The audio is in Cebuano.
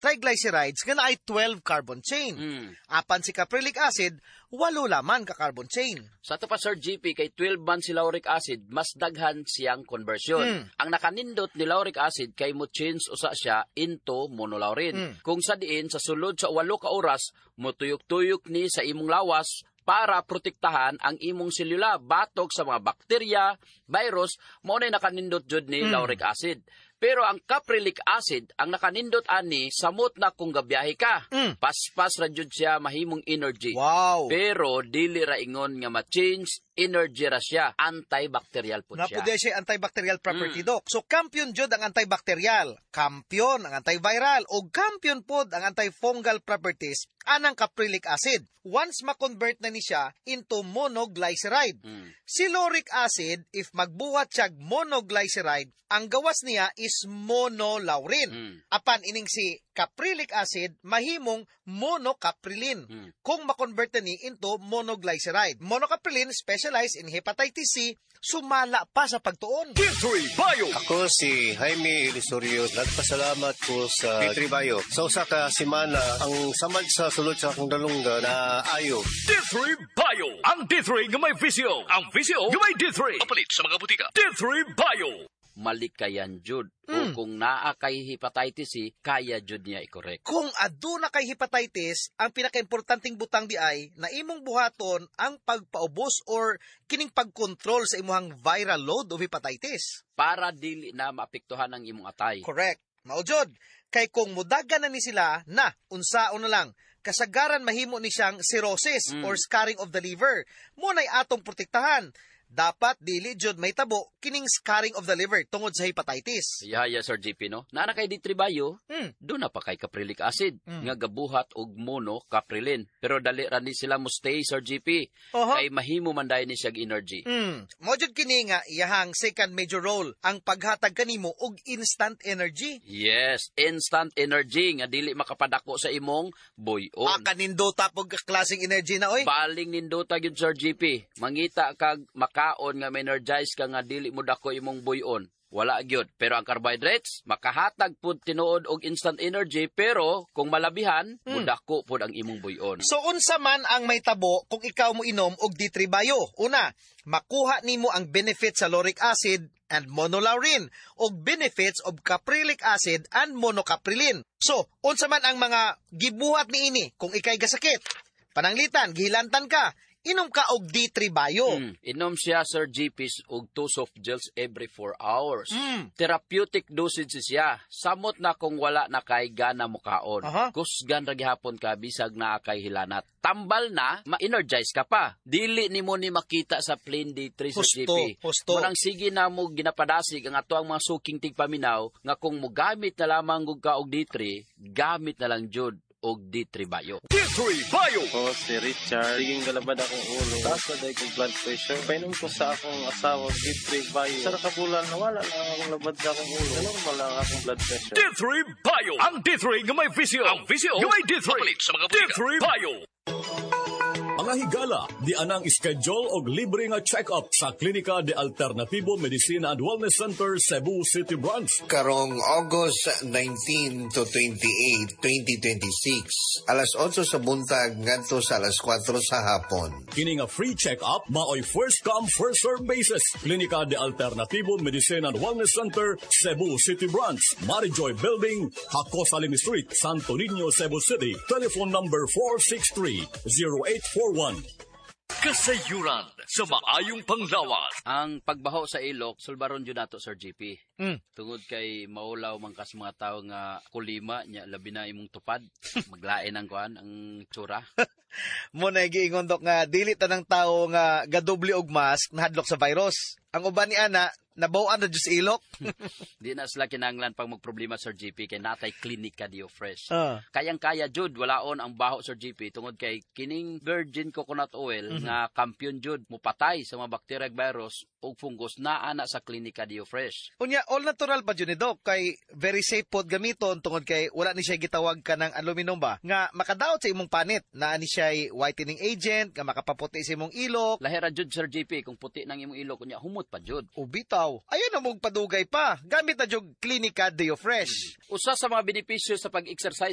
Triglycerides nga naay 12 carbon chain. Apan si caprylic acid, walo laman ka carbon chain. Sa ato pa, Sir GP, kay 12 man si lauric acid, mas daghan siyang conversion. Ang nakanindot ni lauric acid kay mo change usa siya into monolaurin. Kung sa diin sa sulod sa 8 ka oras motuyok-tuyok ni sa imong lawas para protektahan ang imong selula batok sa mga bakterya, virus, mao na nakanindot jud ni lauric acid. Pero ang caprylic acid, ang nakanindot ani, samot na kung gabiyahe ka. Paspas ra jud siya mahimong energy. Pero dili ra ingon nga ma-change, energy ra siya. Antibacterial po siya. Naa pod siya antibacterial property, Doc. So kampiyon jud ang antibacterial, kampiyon ang antiviral, o kampiyon pod ang antifungal properties anang caprylic acid once ma-convert na ni siya into monoglyceride. Si lauric acid, if magbuhat siya monoglyceride, ang gawas niya is monolaurin. Apan ining si caprylic acid mahimong monocaprilin kung ma-convert na ni into monoglyceride. Monocaprilin specialized in hepatitis C, sumala pa sa pagtuon. D3 Bio. Ako si Jaime Elisorio. Nagpasalamat ko sa D3 Bio. Sa usa ka semana, ang samad sa sulod sa akong dalunggan na ayo. D3 Bio. Ang D3 nga may VCO. Ang VCO nga may D3. Papalit sa mga butika. D3 Bio. Malikayan jud. O kung naa kay hepatitis C, kaya jud niya i-correct. Kung aduna kay hepatitis, ang pinakaimportanteng butang di ay na imong buhaton ang pagpaubos or kining pagkontrol sa imong viral load of hepatitis. Para dili na maapektuhan ang imong atay. Correct. Mao jud. Kay kung mudagan na ni sila, na, unsaon na lang, kasagaran mahimo ni siyang cirrhosis or scarring of the liver. Mao nay atong protektahan. Dapat dili jud mahitabo kining scarring of the liver tungod sa hepatitis. Yeah, Sir GP, no? Naa na kay D3 Bio, duna pa kay caprylic acid, nga gabuhat og monocaprilin. Pero dali ra ni sila mo stay, Sir GP. Kay mahimo man dayon ni siyag energy. Mao jud kini nga iyahang second major role, ang paghatag kanimo og instant energy. Yes, instant energy nga dili makapadako sa imong buy-on. Ah, kanindota pog klaseng energy na oy. Baling nindota gyud, Sir GP. Mangita kag makaon nga ma-energize ka nga dili mo dako imong buy-on. Wala gyud. Pero ang carbohydrates, makahatag pud tinuod og instant energy, pero kung malabihan, mudako pud ang imong buy-on. So unsa man ang mahitabo kung ikaw mo inom og D3 Bio? Una, makuha nimo ang benefits sa lauric acid and monolaurin og benefits of caprylic acid and monocaprilin. So, unsa man ang mga gibuhat niini kung ikay gasakit? Pananglitan, gihilantan ka, inom ka og D3 Bio. Inom siya, Sir GP, og 2 soft gels every 4 hours. Therapeutic dosage siya. Samot na kung wala na kay gana mukaon. Kusgan ra gihapon ka bisag naa kay hilanat. Tambal na, ma-energize ka pa. Dili nimo ni makita sa plain D3 sa GP. Husto. Mao nang sige na mo ginapadasig ang ato ang mga suking tigpaminaw nga kung mogamit na lamang gud ka og D3, gamit na lang jud og D3 Bio. D3 Bio. Ako si Richard. Siging galabad akong ulo. Taas na dahil kong blood pressure. Painom ko sa akong asawa, D3 Bio. Sa nakabulan, nawala na akong labad sa akong ulo. Normal lang akong blood pressure. D3 Bio. Ang D3 nga may VCO. Ang VCO nga may D3. Papalit sa mga butika. D3 Bio. Mga higala, di anang schedule og libre nga check-up sa Klinika de Alternatibo Medicina and Wellness Center, Cebu City Branch. Karong August 19 to 28, 2026, alas 8 sa buntag ngadto sa alas 4 sa hapon. Kini nga free check-up maoy first come, first serve basis. Klinika de Alternatibo Medicina and Wellness Center, Cebu City Branch, Marijoy Building, Jacosalem Street, Santo Niño, Cebu City. Telephone number 463-0841. Kasayuran sa maayong panglawas. Ang pagbaho sa ilok, sulbaron jud nato, Sir GP. Tungod kay maulaw man kas mga tao nga kulima nya, labi na imong tupad, maglain ang kuan, ang tsura. Mao na giingon, Dok, nga dili tanang tao nga gadoble og mask nahadlok sa virus. Ang uban ni ana nabaw-an na jud sa ilok. Di na sila kinanglan pang magproblema, Sir GP, kay natay Klinika Dio Fresh. Kayang-kaya jud walaon ang baho, Sir GP, tungod kay kining virgin coconut oil nga kampiyon jud mupatay sa mga bakterya, virus ug fungus naa na sa Klinika Dio Fresh. Unya all natural pa jud ni, Doc, kay very safe pod gamiton tungod kay wala ni siya gitawag ka ng aluminum ba nga makadaot sa imong panit. Naa ni siya whitening agent nga makapaputi sa imong ilok. Lahira jud, Sir GP, kung puti nang imong ilok unya humot pa jud. O bitaw. Ayaw na mong padugay pa. Gamit na jud Klinika Dio Fresh. Usa sa mga benepisyo sa pag-exercise